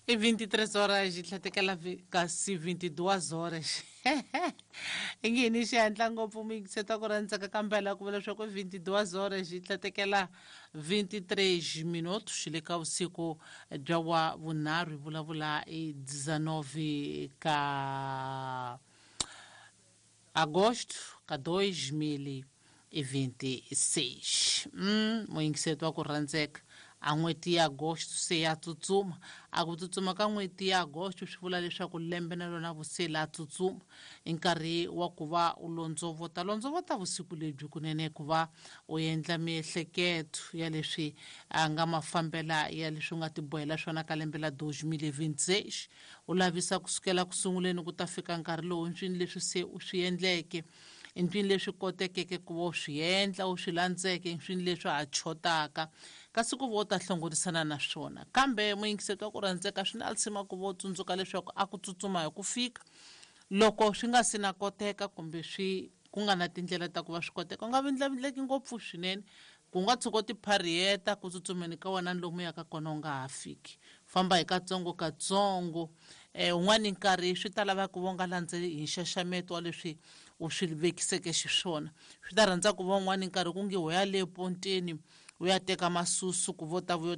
I 23 horas yi tlhatekela kasi 22 horas i nge ni xihatla ngopfu mi yingiseta ku rhandzaka kambela ku vula leswaku i 22 horas yi tlhatekela 23 minutos xi le ka vusiku bya wa vunharhu hi vulavula i 19 ka agosto ka 2026. Muyingiseti wa ku rhandzeka, a n'hweti ya agosto se ya tsutsuma. A ku tsutsuma ka n'hweti ya agosto swi vula leswaku lembe na lona vuse la tsutsuma. I nkarhi wa ku va u londzovota londzovota vusiku lebyi kunene, ku va u endla miehleketo ya leswi a nga mafambela ya leswi u nga tibohela swona ka lembe la 2026, u lavisa kusukela ku sunguleni ku ta fika nkarhi lowu ntswini leswi se u swi endleke, ntswini leswi kotekeke ku va u swi endla, u swi landzeke, ntswini leswi ha chotaka kasi ku va u ta hlongorisana na swona. Kambe muyingiseti wa ku rhandzeka, swi na lisima ku va u tsundzuka leswaku a ku tsutsuma hi ku fika loko swi nga si na koteka, kumbe swi ku nga na tindlela ta ku va swi koteka. U nga vindlavindleki ngopfu swinene, ku nga tshuka u tipharhiyeta ku tsutsumeni ka wena lomu yaka kona u nga ha fiki. Famba hi katsongo katsongo. Un'wani nkarhi swi ta lava ku va u nga landzeli hi nxaxameto wa leswi u swi vekiseke xiswona. Swi ta rhandza ku va un'wani nkarhi ku nge ho ya le ponteni u ya teka masusu ku vo ta vuyo.